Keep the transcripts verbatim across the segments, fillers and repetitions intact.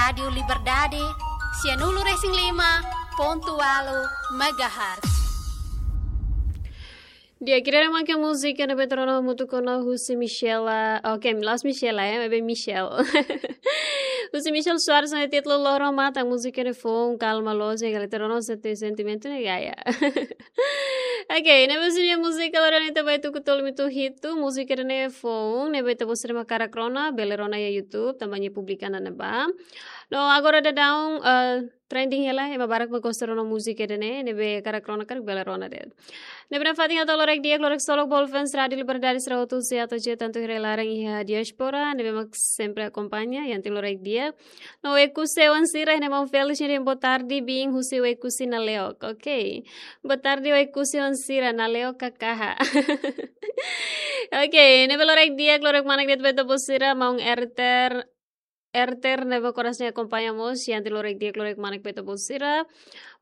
Rádiu Liberdade, sianulu resin lima pontu walu megahertz. Di'ak, ida-ne'e mak múzika ne'ebé ita rona hamutuk ona husi Michela. Oke, la'ós Michela, eh, maibé Michelle. Husi Michelle Soares, ne'e títulu Loro Matan, múzika ne'e foun, kalma loos, ne'e kala ita rona sente-, sentimentu ne'e gaya. Oke, ne'e husi nia múzika loron ita ba tuku tolu minutu hitu, múzika ne'e foun, ne'ebé ita-boot sira mak hakarak rona, bele rona iha YouTube, tanba nia publika ona ne'ebá. No agora daudaun, eh, trending hela, ema barak mak gosta rona múzika ida-ne'e, ne'ebé hakarak rona karik bele rona de'it. Ne'ebé nafatin ha'u hato'o loraik di'ak, loraik solok ba fans Rádiu Liberdade sira hotu, husi atu je tantu iha rai-laran iha diáspora, ne'ebé mak sempre akompaña, iha ita-nia loraik di'ak. No Oekusi oan sira, ne'e maun Felix nia dehan boa tarde, biin husi Oekusi Naleok. Oke. Boa tarde, Oekusi oan sira, Naleok ka kaha. Oke, ne'ebé loraik di'ak, loraik manek de'it ba ita-boot sira, maun Erter, Erter ne'ebé koras ne'e akompaña mós, iha ita-nia loraik di'ak, loraik manek ba ita-boot sira.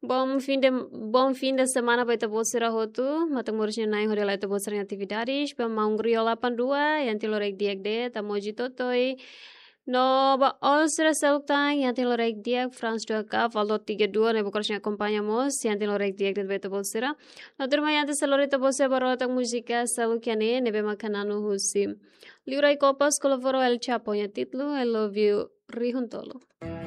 Bom fim de, bom fim de semana ba ita-boot sira hotu. Matan moris nia na'in hodi hala'o ita-boot sira-nia atividades. Ba maun Rio delapan dua, iha ita-nia loraik di'ak de'it, Tamoji Totoi. No ba all sira seluk tan, iha ita-nia loraik di'ak, France dua K, Valdo tiga dua, ne'ebé koras ne'e akompaña mós, iha ita-nia loraik di'ak de'it ba ita-boot sira. No tuirmai antes seluk ita-boot sira ba rona tan múzika seluk iha ne'e, ne'ebé mak hananu husi Liurai Kopas, Kolovoro El Chapo, nia títulu, I Love You, Rihun Tolu.